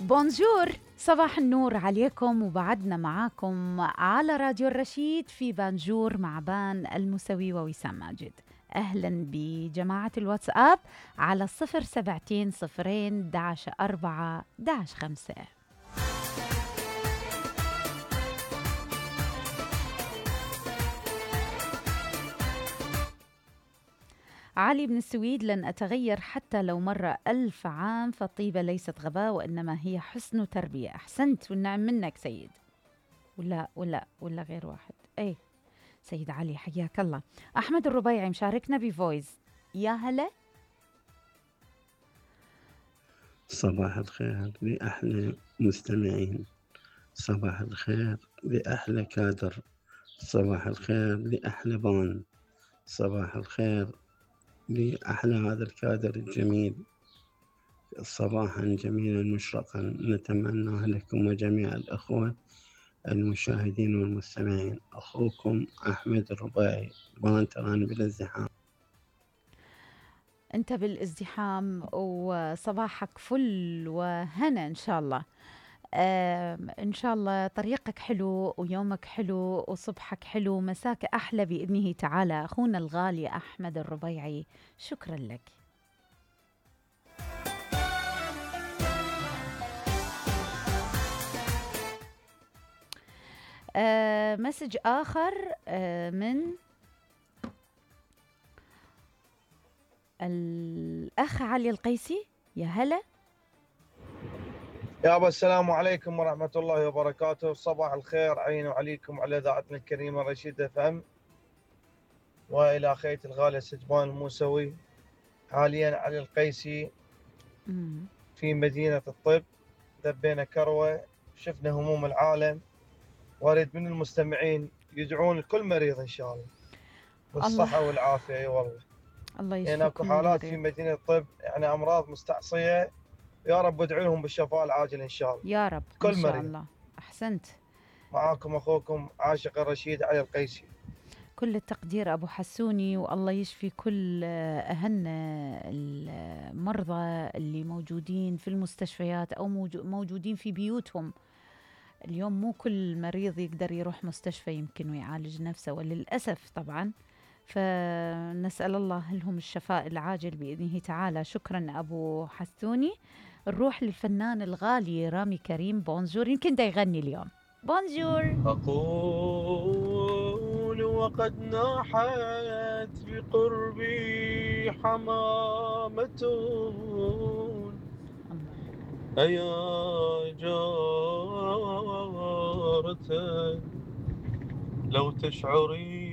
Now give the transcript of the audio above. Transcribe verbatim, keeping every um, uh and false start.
بونجور، صباح النور عليكم، وبعدنا معاكم على راديو الرشيد في بانجور مع بان الموسوي ووسام ماجد. أهلا بجماعة الواتساب على صفر سبعتين صفرين داش أربعة داش خمسة. علي بن السويد: لن أتغير حتى لو مر ألف عام، فالطيبة ليست غباء وإنما هي حسن تربية. أحسنت والنعم منك سيد. ولا ولا ولا غير واحد. أي سيد علي، حياك الله. أحمد الربيعي مشاركنا بفويس. يا هلا. صباح الخير لأحلى مستمعين، صباح الخير لأحلى كادر، صباح الخير لأحلى بان، صباح الخير لأحلى هذا الكادر الجميل. صباحا جميلا مشرقا نتمنى لكم وجميع الأخوة المشاهدين والمستمعين. أخوكم أحمد الربيعي، بان تراني بالازدحام. أنت بالازدحام وصباحك فل وهنا إن شاء الله. إن شاء الله طريقك حلو ويومك حلو وصبحك حلو ومساك أحلى بإذنه تعالى. أخونا الغالي أحمد الربيعي، شكرا لك. آه مسج آخر آه من الأخ علي القيسي. يا هلا يا أبا، السلام عليكم ورحمة الله وبركاته. صباح الخير علينا وعليكم وعلى إذاعتنا الكريمة رشيد اف ام، وإلى أخيتي الغالية سجبان الموسوي. حاليا علي القيسي في مدينة الطب، دبينا كروة، شفنا هموم العالم، وأريد من المستمعين يدعون لكل مريض إن شاء الله بالصحة الله. والعافية. أي والله الله يشفيكم. يعني أكو حالات في مدينة الطب، يعني أمراض مستعصية، يا رب ادعوا لهم بالشفاء العاجل إن شاء الله يا رب كل إن شاء مريض. الله. أحسنت. معاكم أخوكم عاشق الرشيد علي القيسي. كل التقدير أبو حسوني، والله يشفي كل أهلنا المرضى اللي موجودين في المستشفيات أو موجودين في بيوتهم. اليوم مو كل مريض يقدر يروح مستشفى يمكن ويعالج نفسه، وللأسف طبعا، فنسأل الله لهم الشفاء العاجل بإذنه تعالى. شكرا أبو حسوني. نروح للفنان الغالي رامي كريم. بونجور، يمكن دا يغني اليوم. بونجور. أقول وقد ناحت بقربي حمامة، أيا جارة لو تشعرين